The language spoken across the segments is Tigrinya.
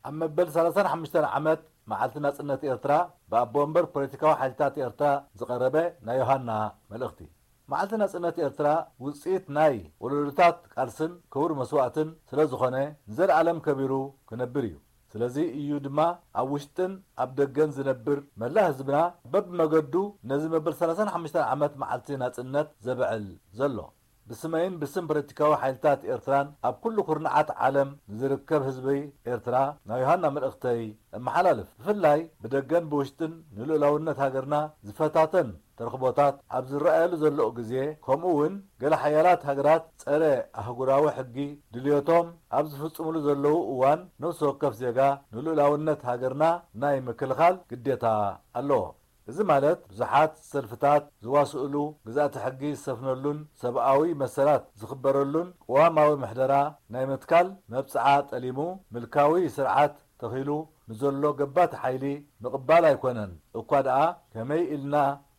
ኣብ መበል ሰላሳን ሓሙሽተን ዓመት መዓልቲ ናጽነት ኤርትራ፣ ብኣቦ ወንበር ፖለቲካዊ ሓይልታት ኤርትራ ዝቐረበ ናይ ዮሃና መልእኽቲ። መዓልቲ ናጽነት ኤርትራ ውጽኢት ናይ ወለዶታት ቃልስን ክቡር መስዋእትን ስለ ዝኾነ፣ ንዘለኣለም ከቢሩ ክነብር እዩ። ስለዚ እዩ ድማ ኣብ ውሽጥን ኣብ ደገን ዝነብር መላእ ህዝብና በብመገዱ ነዚ መበል ሰላሳን ሓሙሽተን ዓመት መዓልቲ ናጽነት ዘብዕል ዘሎ። ብስመይን ብስም ፖለቲካዊ ሓይልታት ኤርትራን ኣብ ኩሉ ኩርናዓት ዓለም ንዝርከብ ህዝቢ ኤርትራ ናይ ዮሃና መልእኽተይ እመሓላልፍ። ብፍላይ ብደገን ብውሽጥን ንልኡላውነት ሃገርና ዝፈታተን ተረኽቦታት ኣብ ዝረኣየሉ ዘለኡ ግዜ፣ ከምኡ እውን ገለ ሓያላት ሃገራት ጸረ ኣህጉራዊ ሕጊ ድልዮቶም ኣብ ዝፍጽሙሉ ዘለዉ እዋን፣ ነፍሲ ወከፍ ዜጋ ንልኡላውነት ሃገርና ናይ ምክልኻል ግዴታ ኣለዎ። እዚ ማለት ብዙሓት ሰልፍታት ዝዋስእሉ፣ ግዝኣተ ሕጊ ዝሰፍነሉን ሰብኣዊ መሰላት ዝኽበረሉን ቅዋማዊ ምሕደራ ናይ ምትካል መብጽዓ ጠሊሙ፣ ምልካዊ ስርዓት ተኺሉ ንዘሎ ገባቲ ሓይሊ ምቕባል ኣይኮነን። እኳ ደኣ ከመይ ኢልና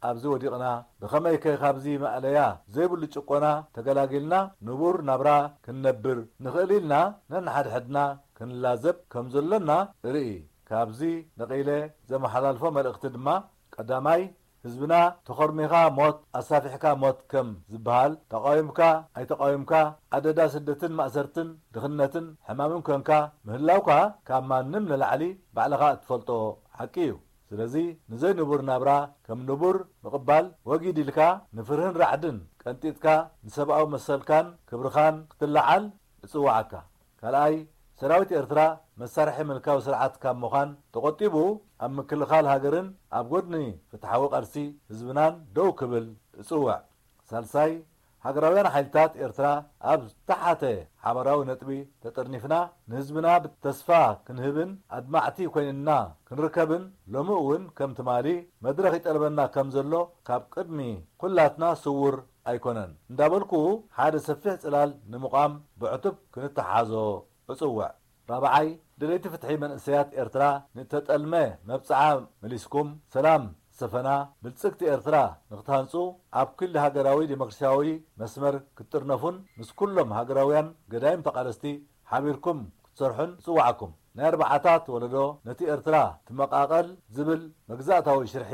ኣብዚ ወዲቕና፣ ብኸመይከ ካብዚ ማእለያ ዘይብሉ ጭቆና ተገላጊልና ንቡር ናብራ ክንነብር ንኽእል ኢልና ነንሓድሕድና ክንላዘብ ከም ዘሎና እርኢ። ካብዚ ነቒለ ዘመሓላልፎ መልእኽቲ ድማ፣ ቀዳማይ፣ ህዝብና ተኾርሚኻ ሞት፣ ኣሳፊሕካ ሞት ከም ዝበሃል፣ ተቓዊምካ ኣይተቓዊምካ፣ ኣደዳ ስደትን ማእሰርትን ድኽነትን ሕማምን ኮንካ ምህላውካ ካብ ማንም ንላዕሊ ባዕልኻ እትፈልጦ ሓቂ እዩ። ስለዚ ንዘይንቡር ናብራ ከም ንቡር ምቕባል ወጊድ ኢልካ፣ ንፍርህን ራዕድን ቀንጢጥካ፣ ንሰብኣዊ መሰልካን ክብርኻን ክትለዓል እጽውዓካ። ካልኣይ፣ ሰራዊት ኤርትራ መሳርሒ ምልካዊ ስርዓት ካብ ምዃን ተቖጢቡ፣ ኣብ ምክልኻል ሃገርን ኣብ ጎድኒ ፍትሓዊ ቃልሲ ህዝብናን ደው ክብል እጽውዕ። ሳልሳይ፣ ሃገራውያን ሓይልታት ኤርትራ ኣብ ዝተሓተ ሓባራዊ ነጥቢ ተጠርኒፍና፣ ንህዝብና ብተስፋ ክንህብን ኣድማዕቲ ኮይንና ክንርከብን፣ ሎሚ እውን ከም ትማሊ መድረኽ ይጠልበና ከም ዘሎ ካብ ቅድሚ ኩላትና ስዉር ኣይኮነን እንዳበልኩ፣ ሓደ ሰፊሕ ጽላል ንምቋም ብዕቱብ ክንተሓዞ እጽውዕ። ራብዓይ፣ ደለይቲ ፍትሒ መንእሰያት ኤርትራ ንእተጠልመ መብጽዓ መሊስኩም፣ ሰላም ዝሰፈና፣ ብልጽግቲ ኤርትራ ንክትሃንጹ፣ ኣብ ክሊ ሃገራዊ ዲሞክራስያዊ መስመር ክትጥርነፉን ምስ ኩሎም ሃገራውያን ገዳይም ተቓለስቲ ሓቢርኩም ክትሰርሑን እጽውዓኩም። ናይ ኣርባዓታት ወለዶ ነቲ ኤርትራ ትመቓቐል ዝብል መግዛእታዊ ሽርሒ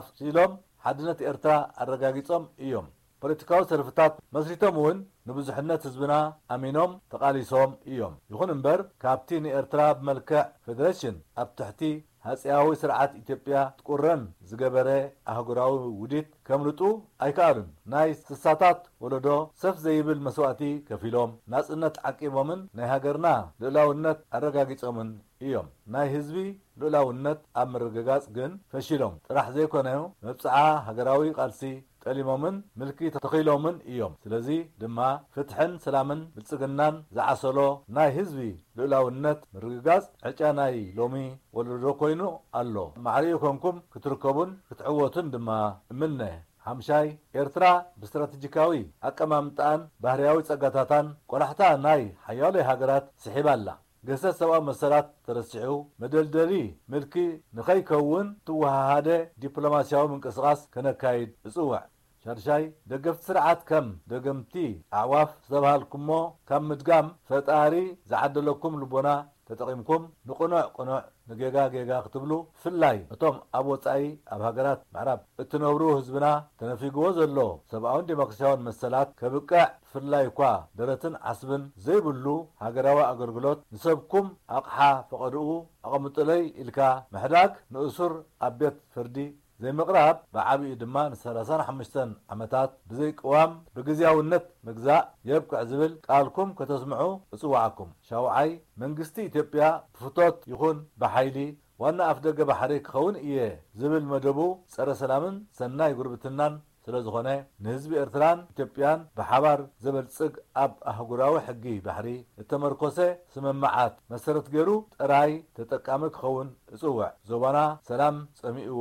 ኣፍሲሎም ሓድነት ኤርትራ ኣረጋጊጾም እዮም። ፖለቲካዊ ሰልፍታት መስሪቶም እውን ንብዙሕነት ህዝብና ኣሚኖም ተቓሊሶም እዮም። ይኹን እምበር፣ ካብቲ ንኤርትራ ብመልክዕ ፌደሬሽን ኣብ ትሕቲ ሃጺያዊ ስርዓት ኢትዮጵያ ትቁረን ዝገበረ ኣህጉራዊ ውዲት ከምልጡ ኣይከኣሉን። ናይ ስሳታት ወለዶ ሰፍ ዘይብል መስዋእቲ ከፊሎም፣ ናጽነት ዓቂቦምን ናይ ሃገርና ልኡላውነት ኣረጋጊጾምን እዮም። ናይ ህዝቢ ልኡላውነት ኣብ ምርግጋጽ ግን ፈሺሎም ጥራሕ ዘይኮነ፣ መብጽዓ ሃገራዊ ቃልሲ ጠሊሞምን ምልኪ ተኺሎምን እዮም። ስለዚ ድማ ፍትሕን ሰላምን ብልጽግናን ዝዓሰሎ ናይ ህዝቢ ልኡላውነት ምርግጋጽ ዕጫ ናይ ሎሚ ወለዶ ኮይኑ ኣሎ። ማዕሪኡ ኮንኩም ክትርከቡን ክትዕወቱን ድማ እምነ። ሓምሻይ፣ ኤርትራ ብስትራተጂካዊ ኣቀማምጣኣን ባህርያዊ ጸጋታታን ቆላሕታ ናይ ሓያሎ ሃገራት ስሒባ ኣላ። ገሰት ሰብኣዊ መሰላት ተረሲዑ፣ መደልደሊ ምልኪ ንኸይከውን፣ እተወሃሃደ ዲፕሎማስያዊ ምንቅስቓስ ከነካይድ እጽውዕ። ሻድሻይ፣ ደገፍቲ ስርዓት ከም ደገምቲ ኣዕዋፍ ዝተባሃልኩሞ ካብ ምድጋም፣ ፈጣሪ ዝዓደለኩም ልቦና ተጠቒምኩም፣ ንቕኑዕ ቅኑዕ፣ ንጌጋ ጌጋ ክትብሉ፣ ብፍላይ እቶም ኣብ ወጻኢ ኣብ ሃገራት ምዕራብ እትነብሩ ህዝብና ተነፊግዎ ዘሎ ሰብኣውን ዴሞክራስያውን መሰላት ከብቅዕ፣ ብፍላይ እኳ ደረትን ዓስብን ዘይብሉ ሃገራዊ ኣገልግሎት ንሰብኩም ኣቕሓ ፈቐድኡ ኣቐምጡለይ ኢልካ ምሕዳግ፣ ንእሱር ኣብ ቤት ፍርዲ ዘይምቕራብ፣ ብዓቢኡ ድማ ንሰላሳን ሓሙሽተን ዓመታት ብዘይ ቅዋም ብግዝያውነት ምግዛእ የብቅዕ ዝብል ቃልኩም ከተስምዑ እጽውዓኩም። ሻውዓይ፣ መንግስቲ ኢትዮጵያ ብፍቶት ይኹን ብሓይሊ ዋና ኣፍደገ ባሕሪ ክኸውን እየ ዝብል መደቡ ጸረ ሰላምን ሰናይ ጉርብትናን ስለ ዝኾነ፣ ንህዝቢ ኤርትራን ኢትዮጵያን ብሓባር ዘበልጽግ ኣብ ኣህጉራዊ ሕጊ ባሕሪ እተመርኮሰ ስምምዓት መሰረት ገይሩ ጥራይ ተጠቃሚ ክኸውን እጽውዕ። ዞባና ሰላም ጸሚእዎ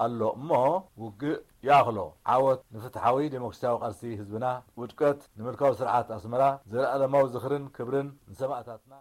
ኣሎ እሞ ውግእ ይኣኽሎ። ዓወት ንፍትሓዊ ዴሞክራስያዊ ቃልሲ ህዝብና፣ ውድቀት ንምልካዊ ስርዓት ኣስመራ። ዘለኣለማዊ ዝኽርን ክብርን ንሰማእታትና።